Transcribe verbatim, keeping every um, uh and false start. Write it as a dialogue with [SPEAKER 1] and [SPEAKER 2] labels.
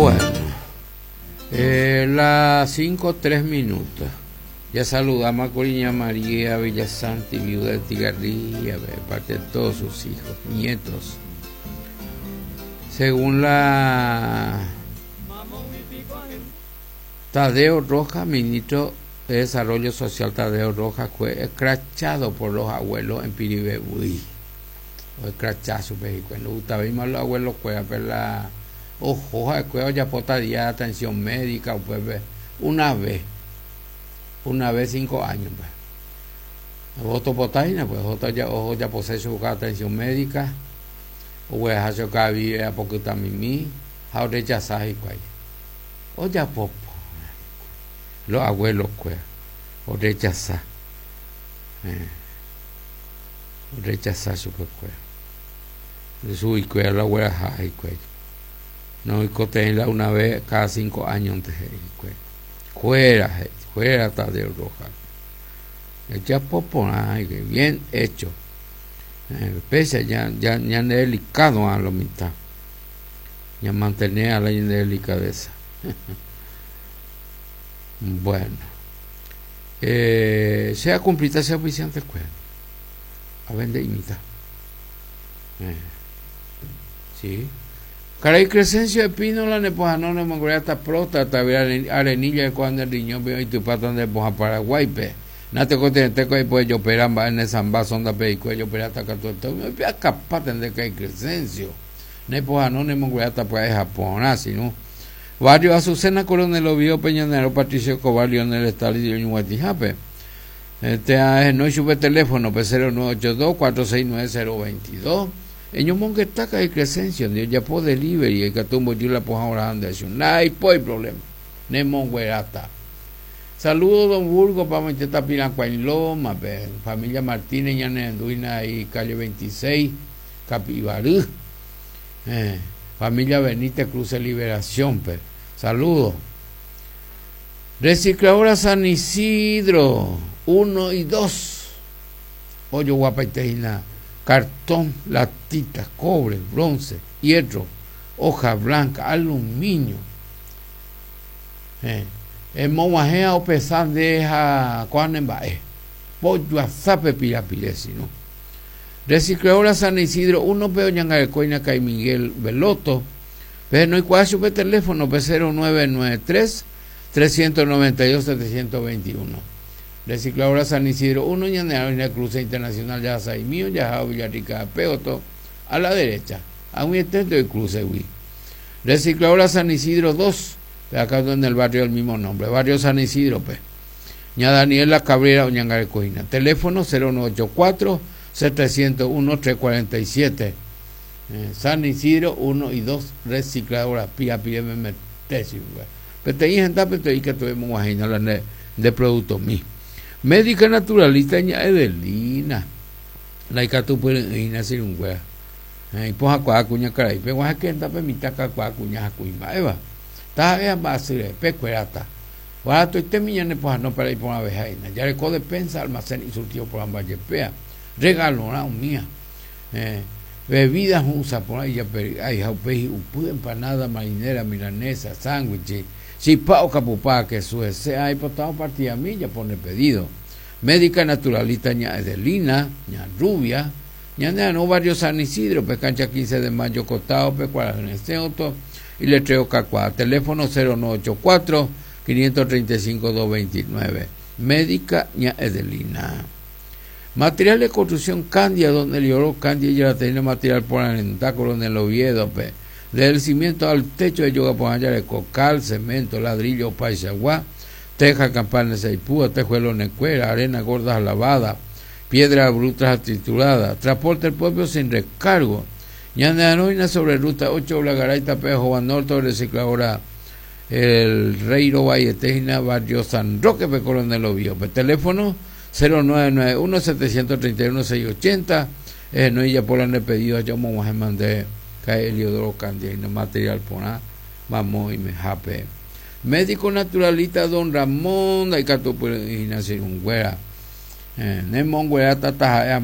[SPEAKER 1] Bueno, eh, las cinco tres minutos. Ya saludamos a Coriña María Villasanti, viuda de Tigarría, de parte de todos sus hijos, nietos. Según la Tadeo Rojas, ministro de Desarrollo Social Tadeo Rojas, fue escrachado por los abuelos en Piribebuy. O escrachazo, pero gustaba más los abuelos, pero la ojo, ya día atención médica, pues, una vez, una vez cinco años, pues. Voto potaina, pues, ojo ya, ojo ya posee su atención médica, o a cada vive a poco tamimi, a rechazar y cual. O ya popo, los abuelos, pues, o rechazar, eh, o rechazar su pues, su y cual, la abuela, y cual. No, y cotenla una vez cada cinco años antes de fuera, fuera Tadeo Rojas. Ya popo, ay, bien hecho. Eh, pese ya, ya, ya delicado a la mitad. Ya mantener a la delicadeza. Bueno. Eh, sea cumplida, sea oficiante, pues. A vender imita. Eh, sí. Caray Crescencio Espínola ne poja no ne mongreata próstata arenilla de cuando el riñón y tu pata de poja Paraguay pe. Nate continente que pues yo operamba en esa sonda pe y cuello operata cato me pia capaz de que hay Crescencio. Ne poja no ne mongreata pues Japón así no. Barrio Azucena Coronel Oviedo Peñanero Patricio Escobar Lionel Stalin y Ñuatijape. Este no sube teléfono pe cero nueve ocho dos cuatro seis nueve cero veintidós. En un monguetaca y Crescencio, Dios ya po delivery, el catumbo yo la poja ahora anda, no hay problema, ne monguerata. Saludos don Burgo, pa Monteta Pirancuain Loma, pe, familia Martínez, Ñanenduina y calle veintiséis, Capibarú. Eh, familia Benítez Cruz de Liberación, pe. Saludos. Recicladora San Isidro, uno y dos. Hoyo guapa y tejina. Cartón, latita, cobre, bronce, hierro, hoja blanca, aluminio. Eh, el mojea o pesan deja cuanembae. Pollo a zape pirapiresi, ¿no? Recicladora San Isidro, uno peo ñangarecoina Cay Miguel Veloto. Pero no hay cuál su teléfono, P cero nueve nueve tres, trescientos noventa y dos, setecientos veintiuno. Recicladora San Isidro uno, Ñanera, Cruce Internacional, ya Saimío, ya Villarrica, Peoto, a la derecha, a un intento de cruce, güey. Recicladora San Isidro dos, acá en el barrio del mismo nombre, barrio San Isidro, pues. Ña Daniela Cabrera, Oñangarecojina. Teléfono cero nueve ocho cuatro, setecientos uno, trescientos cuarenta y siete. Eh, San Isidro uno y dos, recicladora, pía, pía, me mete, sí, güey. Pero te dije, pero te dije que tuvimos una de, de producto mío. Médica naturalista ña Edelina. La icatu puede nacer un wea. Y poja cuá cuña caray. Pero guaja que enda pe mitaca cuá cuña cuima eva. Ta ea basure pe cuerata. Guaja tu este miña ne poja no para ir por una vejaina. Ya le code pensa almacén y surtido por ambas yepea. Regalo na mía. Eh, bebidas usa por ahí ya pe ay jaupe upu empanada marinera milanesa sándwich. Si pa o capupá que suese, ahí potado partida milla pone pedido. Médica naturalista ña Edelina, ña Rubia, ña Nea, no barrio San Isidro, pe cancha quince de mayo costado, pe cuarenta y le traigo cacuá. Teléfono cero nueve ocho cuatro, quinientos treinta y cinco, doscientos veintinueve. Médica ña Edelina. Material de construcción Candia, donde el lloró Candia ya la tenía material por alentar, Coronel Oviedo, pe. Desde el cimiento al techo de yoga por allá de cocal, cemento, ladrillo, paisagua, teja, campana, seipúa, tejuelo, necuera, arena gorda lavada, piedra bruta triturada, transporte el pueblo sin recargo. Ñandeanoina sobre ruta ocho, Blagaray, Tapejo, Norte, recicladora El Reiro, Valle Tejina, Barrio San Roque, pe Coronel Oviedo. Pe teléfono cero nueve nueve uno, setecientos treinta y uno, seiscientos ochenta. Eh, no, y ya por el pedido, yo me voy a mandar. Cae Eliodoro Candia y no material por nada, vamos y me jape. Médico naturalista don Ramón, hay que tu puedes nacer un güera. Eh, Nemón güera tata